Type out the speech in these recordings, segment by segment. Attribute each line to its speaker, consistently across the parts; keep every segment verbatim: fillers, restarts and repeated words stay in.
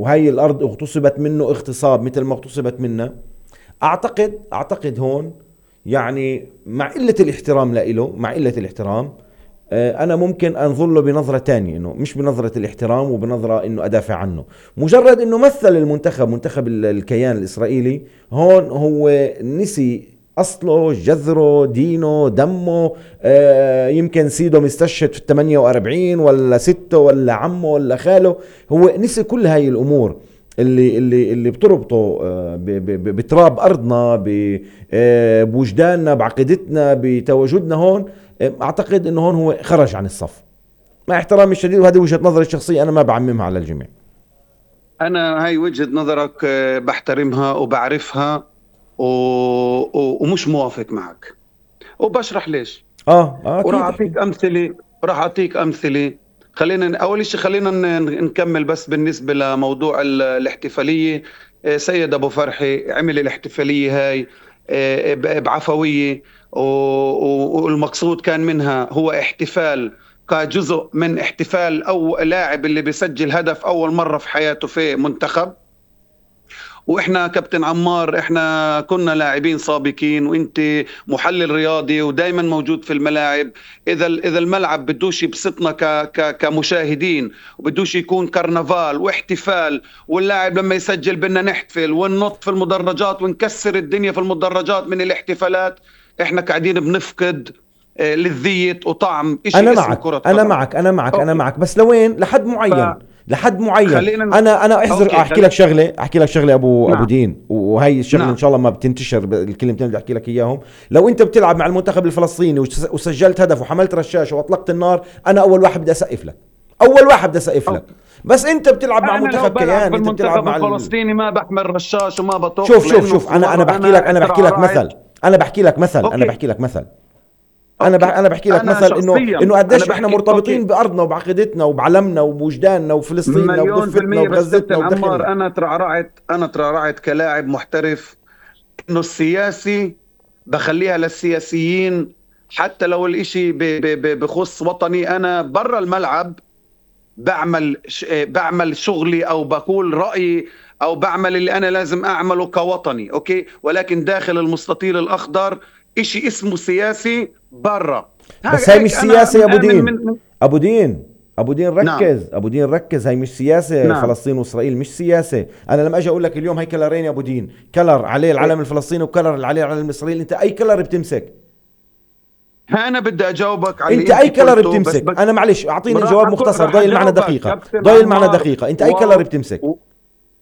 Speaker 1: وهي الأرض اغتصبت منه اغتصاب مثل ما اغتصبت منا. أعتقد أعتقد هون يعني مع قلة الاحترام لإله، مع قلة الاحترام أنا ممكن أنظر له بنظرة تانية، إنه مش بنظرة الاحترام وبنظرة إنه أدافع عنه. مجرد إنه مثل المنتخب، منتخب الكيان الإسرائيلي، هون هو نسي أصله، جذره، دينه، دمه. آه يمكن سيده مستشهد في الثمانية وأربعين ولا ستة ولا عمه ولا خاله. هو نسي كل هاي الأمور اللي اللي اللي بتربطه آه بتراب أرضنا، بوجداننا، بعقيدتنا، بتواجدنا هون. أعتقد إنه هون هو خرج عن الصف، مع احترامي الشديد، وهذه وجهة نظري الشخصية، أنا ما بعممها على الجميع.
Speaker 2: أنا هاي وجهة نظرك بحترمها وبعرفها و... و... ومش موافق معك، وبشرح ليش.
Speaker 1: آه آه
Speaker 2: وراح أعطيك أمثلة راح أعطيك أمثلة. خلينا أول شيء خلينا نكمل بس بالنسبة لموضوع الاحتفالية. سيد أبو فرحي عمل الاحتفالية هاي بعفوية، والمقصود كان منها هو احتفال كجزء من احتفال أو لاعب اللي بيسجل هدف أول مرة في حياته في منتخب. وإحنا كابتن عمار إحنا كنا لاعبين سابقين، وإنت محلل رياضي ودايما موجود في الملاعب. إذا إذا الملعب بدوش يبسطنا ك ك كمشاهدين، وبدوش يكون كرنفال واحتفال، واللاعب لما يسجل بدنا نحتفل وننط في المدرجات ونكسر الدنيا في المدرجات من الاحتفالات، إحنا قاعدين بنفقد لذية وطعم إشي.
Speaker 1: أنا معك أنا معك أنا معك أنا معك بس لوين؟ لحد معين ف... لحد معين. انا انا احذر احكي لك شغله احكي لك شغله ابو نعم. ابو دين، وهي الشغله نعم. ان شاء الله ما بتنتشر الكلمتين اللي احكي لك اياهم. لو انت بتلعب مع المنتخب الفلسطيني وسجلت هدف وحملت رشاشه واطلقت النار، انا اول واحد بدي اسقف لك، اول واحد بدي اسقف لك. بس انت بتلعب مع منتخب كيان، انت بتلعب مع
Speaker 2: الفلسطيني ما بحمل رشاش وما بطوق.
Speaker 1: شوف شوف شوف انا انا بحكي لك انا بحكي لك مثل انا بحكي لك مثل أوكي. انا بحكي لك مثل انا بح... انا بحكي لك مثل انه انه قديش احنا مرتبطين أوكي. بارضنا وبعقيدتنا وبعلمنا وبوجداننا وفلسطيننا وضفتنا وغزتنا ودخلنا.
Speaker 2: انا ترعرعت انا ترعرعت كلاعب محترف انه السياسي بخليها للسياسيين، حتى لو الاشي ب... ب... بخص وطني. انا برا الملعب بعمل ش... بعمل شغلي او بقول رايي او بعمل اللي انا لازم اعمله كوطني اوكي، ولكن داخل المستطيل الاخضر إشي اسمه سياسي برا.
Speaker 1: بس هاي مش سياسة يا أبو دين. من من أبو دين أبو دين ركز نعم. أبو دين ركز، هاي مش سياسة نعم. فلسطين وإسرائيل مش سياسة. أنا لما أجي أقول لك اليوم هاي كلرين يا أبو دين، كلر عليه العلم الفلسطيني وكلر عليه العلم الإسرائيلي، أنت أي كلر بتمسك؟
Speaker 2: أنا بدي أجاوبك على
Speaker 1: أنت أي كلر بتمسك؟ بس بس أنا معلش أعطيني جواب مختصر ضايل معنا دقيقة ضايل معنا دقيقة أنت أي كلر بتمسك؟
Speaker 2: و...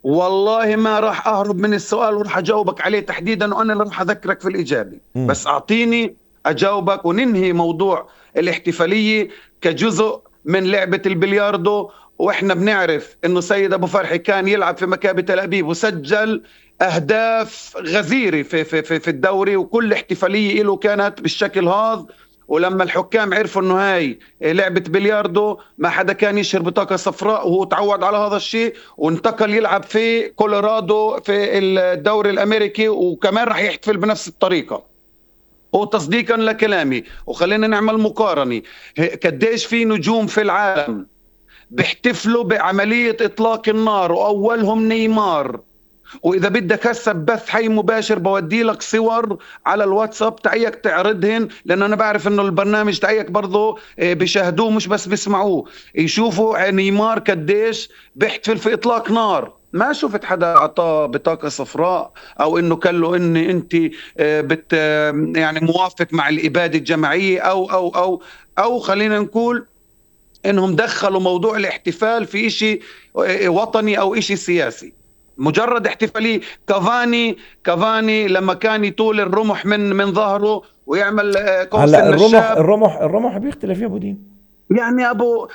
Speaker 2: والله ما راح أهرب من السؤال وراح أجاوبك عليه تحديدا، وأنا اللي راح أذكرك في الإجابة. م. بس أعطيني أجاوبك وننهي موضوع الاحتفالية كجزء من لعبة البلياردو. وإحنا بنعرف إنه سيد أبو فرحي كان يلعب في مكابي تل أبيب وسجل أهداف غزيرة في, في, في, في الدوري، وكل احتفالية له كانت بالشكل هذا. ولما الحكام عرفوا انه هاي لعبة بلياردو ما حدا كان يشهر بطاقة صفراء، وهو تعود على هذا الشيء وانتقل يلعب في كولورادو في الدوري الامريكي، وكمان راح يحتفل بنفس الطريقة. وتصديقا لكلامي وخلينا نعمل مقارنة، قديش في نجوم في العالم بيحتفلوا بعملية اطلاق النار واولهم نيمار. وإذا بدك هسه بث حي مباشر بودي لك صور على الواتساب تعيك تعرضهن، لأنه أنا بعرف إنه البرنامج تعيك برضو بيشاهدوه مش بس بيسمعوه، يشوفوا نيمار قديش بيحتفل في إطلاق نار. ما شفت حدا أعطاه بطاقة صفراء أو إنه قال له إن أنت بت يعني موافق مع الإبادة الجماعية أو أو أو أو خلينا نقول إنهم دخلوا موضوع الاحتفال في إشي وطني أو إشي سياسي. مجرد احتفالي. كافاني كافاني لما كان يطول الرمح من من ظهره ويعمل
Speaker 1: قوس الرمح الرمح الرمح بيختلف يا ابو دين.
Speaker 2: يعني ابو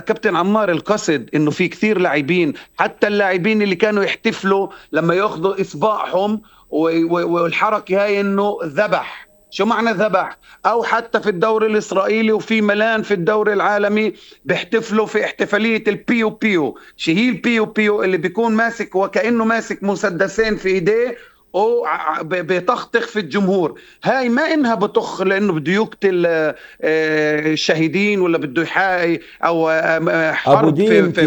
Speaker 2: كابتن عمار القصد انه في كثير لاعبين، حتى اللاعبين اللي كانوا يحتفلوا لما ياخذوا اصبعهم والحركه هاي انه ذبح. شو معنى ذبح؟ او حتى في الدوري الاسرائيلي وفي ملان في الدوري العالمي بيحتفلوا في احتفاليه البيو بيو. شو هي البيو بيو؟ اللي بيكون ماسك وكانه ماسك مسدسين في ايديه وبيطخطخ في الجمهور. هاي ما انها بطخ لانه بده يقتل الشهيدين ولا بده يحاي او حرب في